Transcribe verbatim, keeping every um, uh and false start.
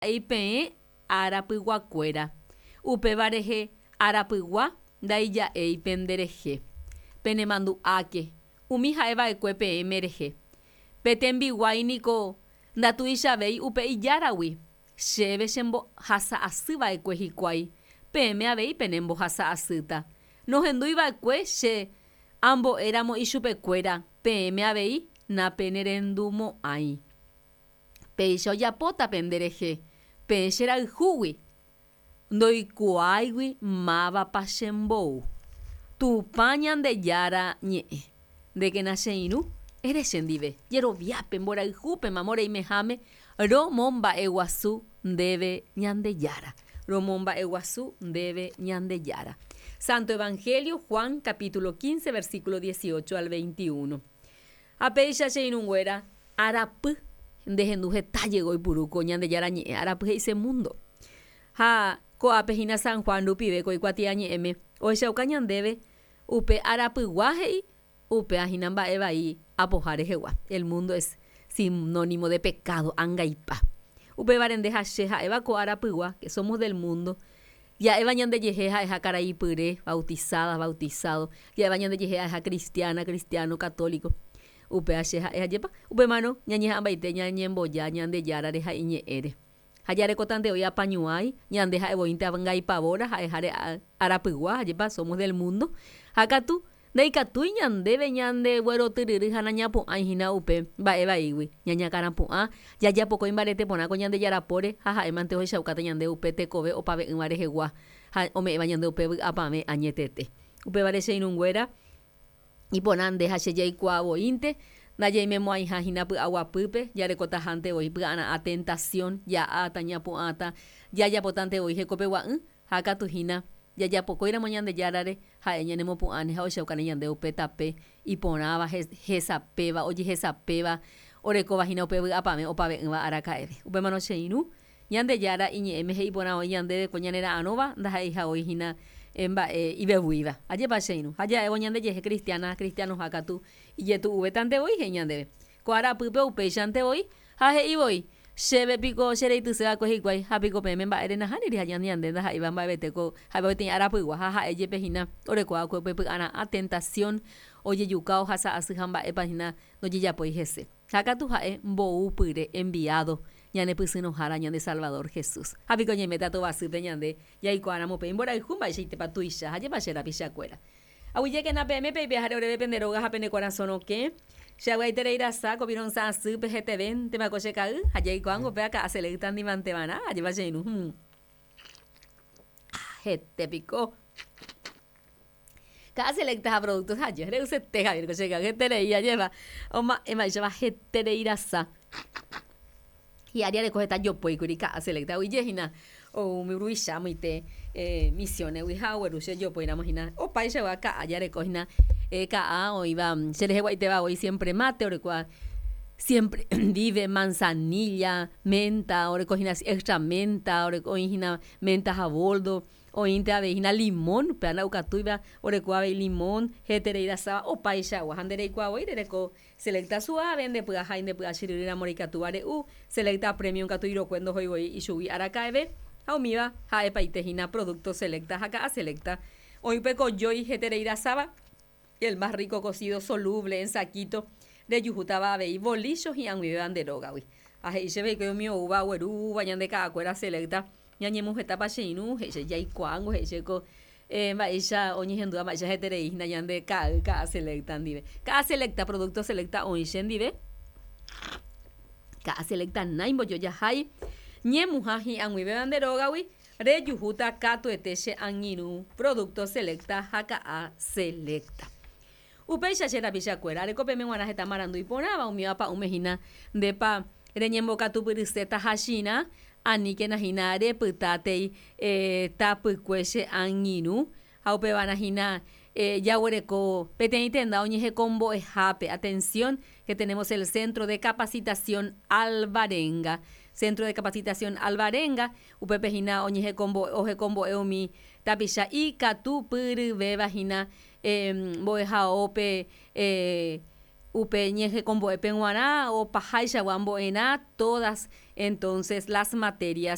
Peẽ arapyguakuéra, upéva rehe arapygua ndaija'éi penderehe. Penemandu'áke umi ha'eva'ekue peẽme rehe. Pe tembiguái niko ndatuichavéi upe ijáragui, chéve chembohasa'asyva'ekue hikuái, peẽme avei penembohasa'asýta. Nohenduiva'ekue che ambo'éramo ichupekuéra, peẽme avei napenerendumo'ãi. Péicha ojapóta penderehe, peẽ cherayhúgui, ndoikuaáigui mávapa chembou. Tupã Ñandejára ñe'ẽ. Ndékena che irũ, ere chendive, jeroviápe, mborayhúpe mamo reimeháme, romomba'eguasu ndéve Ñandejára. Romomba'eguasu ndéve Ñandejára. Santo Evangelio Juan capítulo quince versículo dieciocho al veintiuno. Ha péicha che irũnguéra, arapy nde hendu heta jey oipuru ko Ñandejára ñe'ẽ, arapy he'ise mundo. Ha ko'ápe hína San Juan rupive ko ikuatiañe'ẽme ohechauka ñandéve upe arapygua he'i upéva hína mba'e vai apoha rehegua. El mundo es sinónimo de pecado, angaipa. Upévare nde ha che ha'éva ko arapygua, que somos del mundo, ja'éva ñandejehe ha'eha karaipyre, bautizada, bautizado, ja'éva ñandejehe ha'eha cristiana, cristiano, católico. Upéva che ha'e ajépa upémarõ ñañeha'ãmbaite ñañemboja Ñandejárare ha iñe'ẽre. Ha jarekotante voi apañuái, ñande ha'e voínte angaipavóra ha'eháre arapygua, ajépa somos del mundo. Ha katu ndaikatúi ñandéve ñandeguerotyryry ha nañapu'ãi hína upe mba'e vaígui. Ñañakãrapu'ã, jajapokói imbarete porã ko Ñandejára póre ha ha'émante ohechaukáta ñande upe tekove opave'ỹva rehegua ha ome'ẽva ñande upe vy'apavẽ añetete. Upévare che irũnguéra, iporã nde ha che jaikuaa voínte, ndajaimemo'ãiha hína py'aguapýpe, jarekotahánte voi py'ara'ã tentación, ja'áta, ñapu'ãta, jajapotánte voi hekopegua'ỹ, ha katu hína jajapokóiramo Ñandejárare ha'e ñanemopu'ãne ha ohechaukáne ñande upe tape iporãva, hesapéva, ojehesapéva, orekóva hína upe vy'apavẽ opave'ỹva araka'eve. Upémarõ che irũ, Ñandejára iñe'ẽme he'i porã voi ñandéve ko ñanera'arõva ndaha'eiha voi hína mba'e ivevuíva. Ajépa che irũ. Ha ja'évo ñandejehe cristiana, cristianoha katu ijetu'uvétante voi he'i ñandéve. Ko arapýpe upéichante voi ha he'i voi, chéve piko chereityséva'ekue hikuái ha piko peẽme mba'ére nahániri ha ñande ndaha'éiva mba'evete ko ha'éva peteĩ arapygua ha ha'e jepe hína orekóva'ekue upe py'ara'ã tentación ojejuka ohasa'asy ha mba'épa hína ndojejapói hese. Ha katu ha'e mboúpyre enviado ñanepysyrõhára ñande Salvador Jesús. Ha piko ñaiméta tovasýpe ñande jaikuaáramo pe imborayhu mba'eichaitépa tuicha ha jepa che rapichakuéra. Aguyjékena peẽme peipeháre oréve pende róga ha pene korasõ rokẽ. Che ag̃uaiterei rasa ko virõsã asýpe hetevéntema ko che ka'y ha jaikuaángo péva ka'a selecta ndivanteva'erã ajépa che irũ. Hmm. Hete piko. Ka'a selecta ha productos aje re'usete Javier ko che ka'y heterei ajépa oma'ẽvaichava heterei rasa. Hi'ári areko heta jopóikuri ka'a selecta oijehína ou umi ruvicha amoite eh, misiones-gui ha ogueru che jopóiramo hína opaichagua ka'a jareko hína eh, ka'a oĩva chereheguaitéva voi siempre mate orekóva siempre vive manzanilla, menta, oreko hína extra menta, oreko oĩ hína menta ha boldo, oĩnte avei hína limón, upéva nda'ukatúiva oreko avei limón, heterei rasáva opaichagua ha nde reikuaa voi rereko Selecta suave nde py'ahái nde py'achyryry ramo reikatúva re'u, Selecta Premium katu irokue ndohói voi ichugui araka'eve, ha umíva ha'epaite hína producto Selecta ha ka'a Selecta. Oĩ upe kojói heterei rasáva, el más rico cocido soluble en saquito, rejuhútava avei bolícho hi'ag̃uivéva nde rógagui. Ha he'i chéve hikuái umi oúva oguerúva ñande ka'akuéra Selecta ñañemohetápa che irũ, he'i che jaikuaángo, he'i che ko eh, mba'éicha oñehendúva mba'éicha heterei hína ñande ka'ay ka'a selecta ndive. Ka'a selecta, producto selecta oĩ che ndive. Ka'a selecta nái mbojojahái ñemuha hi'ag̃uivéva nde rógagui rejuhúta katuete che angirũ producto selecta ha ka'a selecta. Upéicha che rapichakuéra, areko peẽme g̃uarã heta marandu iporãva, umíva pa'ũme hína ndépa reñembokatupyryséta hachirã, aníkena hína repytátei eh, tapykue che angirũ, ha upevarã hína eh, jaguereko peteĩ tenda oñehekombo'ehápe. Atención, que tenemos el Centro de Capacitación Alvarenga. Centro de Capacitación Alvarenga, upépe hína oñehekombo'e ohekombo'e umi tapicha ikatupyryvéva hína eh, mbo'ehaópe eh, upe ñehekombo'épe g̃uarã opahaichagua mbo'erã todas Entonces las materias